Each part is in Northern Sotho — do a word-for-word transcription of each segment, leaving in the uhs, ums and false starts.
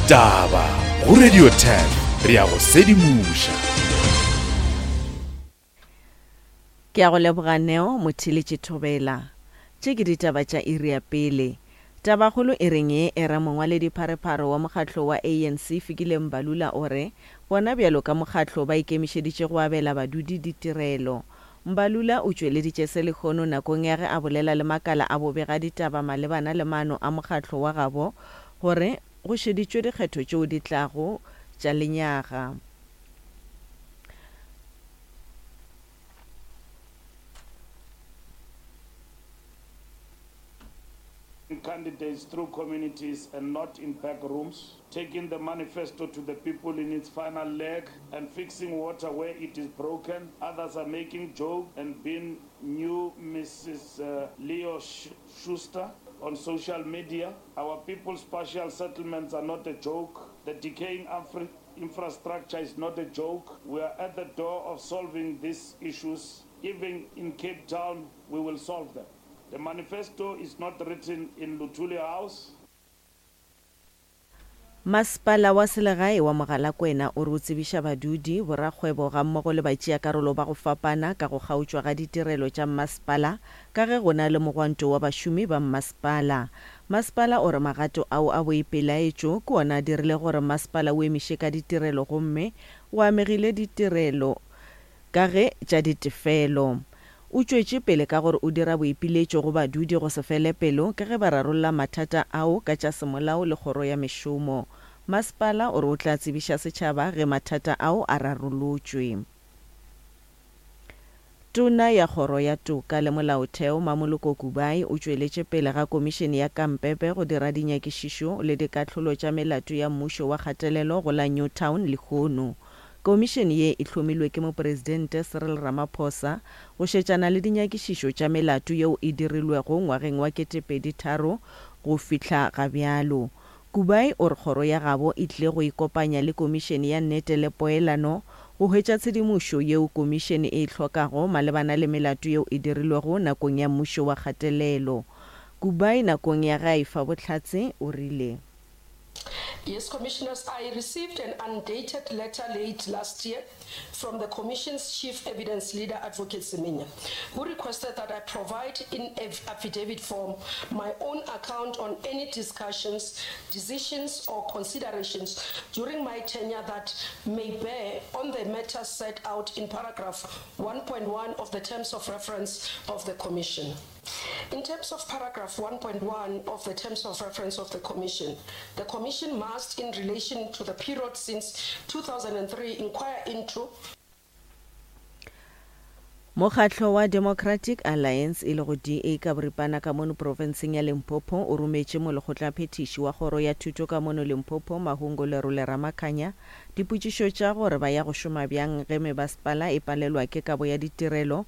Ditaba go Radio ten re a go sedimoša. Ke a go leboga Neo Motheeletši Thobela. Tše ke ditaba tša iri ya pele. Tabakgolo e reng ye e re mongwaledipharephare wa mokgatlo wa A N C Fikile Mbalula o re bona bjalo ka mokgatlo ba ikemišeditše go abela badudi ditirelo. Mbalula o tšweleditše se lehono nakong ya ge a bolela le makala a bobega ditaba malebana le maano a mokgatlo wa gabo gore go šeditšwe dikgetho tšeo di tlago tša lenyaga. Candidates through communities and not in back rooms, taking the manifesto to the people in its final leg and fixing water where it is broken. Others are making joke and being new Missus Uh, Leo Schuster on social media. Our people's partial settlements are not a joke. The decaying Afri- infrastructure is not a joke. We are at the door of solving these issues. Even in Cape Town, we will solve them. The manifesto is not written in Luthuli House. Masepala wa selegae wa Mogalakwena o re o tsebiša badudi, borakgwebo gammogo le batšeakarolo ba go fapana ka go kgaotšwa ga ditirelo tša mmasepala ka ge go na le mogwanto wa bašomi ba mmasepala. Masepala o re magato ao a boipelaetšo ke ona a dirile gore masepala o emiše ka ditirelo gomme o amegile ditirelo ka ge tša ditefelo. O tšwetše pele ka gore o dira boipiletšo go badudi go se fele pelo ka ge ba rarolla mathata ao ka tša semolao le kgoro ya mešomo. Masepala o re o tla tsebiša setšhaba ge mathata ao a rarolotšwe. Tona ya kgoro ya toka le molaotheo Mamoloko Kubayi o tšweletše pele ga komišene ya Kampepe go dira dinyakišišo le dikahlolo tša melato ya mmušo wa kgatelelo go la Newtown lehono. Komišene ye e hlomilwe ke mopresidente Cyril Ramaphosa go šetšana le dinyakišišo tša melato yeo e dirilwego ngwageng wa ketepedi tharo go fihla ga bjalo. Kubayi o re kgoro ya gabo e tlile go ikopanya le komišene ya nnete le poelano go hwetša tshedimošo yeo komišene e hlokago malebana le melato yeo e dirilwego nakong ya mmušo wa kgatelelo. Kubayi nakong ya ge a efa bohlatse o rile: Yes, Commissioners, I received an undated letter late last year from the Commission's Chief Evidence Leader, Advocate Semenya, who requested that I provide in affidavit form my own account on any discussions, decisions or considerations during my tenure that may bear on the matters set out in paragraph one point one of the Terms of Reference of the Commission. In terms of paragraph one point one of the Terms of Reference of the Commission, the Commission must, in relation to the period since two thousand three, inquire into Mokgatlo wa Democratic Alliance e lego D A ka boripana ka mono profenseng ya Limpopo o rometše molekgotlaphethiši wa kgoro ya thuto ka mono Limpopo Mahungo Lerole Ramakhanya dipotšišo tša gore ba ya go šoma bjang ge mebasepala e palelwa ke kabo ya ditirelo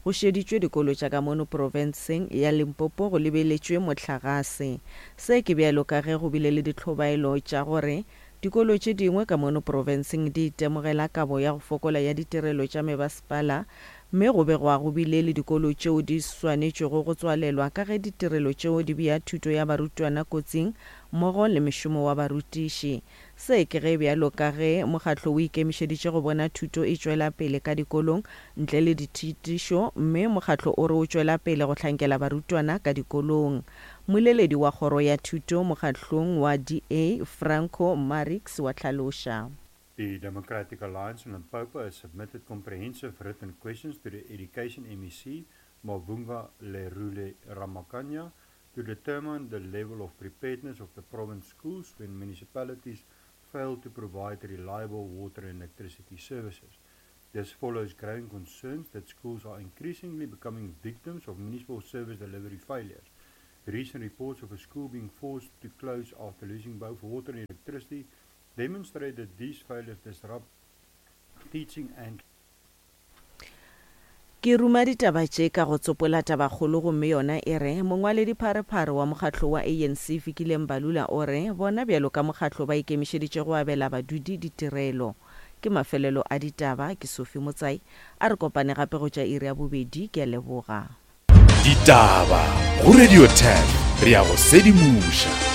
go šeditšwe dikolo tša ka mono profenseng ya Limpopo go lebeletšwe mohlagase. Se ke bjalo ka ge go bile le ditlhobaelo tša gore dikolo tše dingwe ka mono profenseng di itemogela kabo ya go fokola ya ditirelo tša mebasepala, mme go begwa go bile le dikolo tšeo di swanetšwego go tswalelwa ka ge ditirelo tšeo di bea thuto ya barutwana kotsing mmogo le mešomo wa barutiši. Se ke ge bjalo ka ge mokgatlo o ikemišeditše go bona thuto e tšwela pele ka dikolong ntle le dithitišo, mme mokgatlo o re o tšwela pele go hlankela barutwana ka dikolong. Mmoleledi wa kgoro ya thuto mokgatlong wa D A Franco Marix wa hlaloša. The Democratic Alliance in Limpopo has submitted comprehensive written questions to the Education M E C, Mavhunga Lerule Ramakhanya, to determine the level of preparedness of the province schools when municipalities fail to provide reliable water and electricity services. This follows growing concerns that schools are increasingly becoming victims of municipal service delivery failures. Recent reports of a school being forced to close after losing both water and electricity demonstrate that these failures disrupt teaching and Ke ruma ditaba tše ka go tsopola tabakgolo gomme yona e re mongwaledipharephare wa mokgatlo wa A N C Fikile Mbalula o re bona bjalo ka mokgatlo ba ikemišeditše go abela badudi ditirelo. Ke mafelelo a ditaba, ke Sophie Motsai, a re kopane gape go tša iri ya bobedi, ke a leboga. Ditaba go Radio ten, re ya go sedimoša.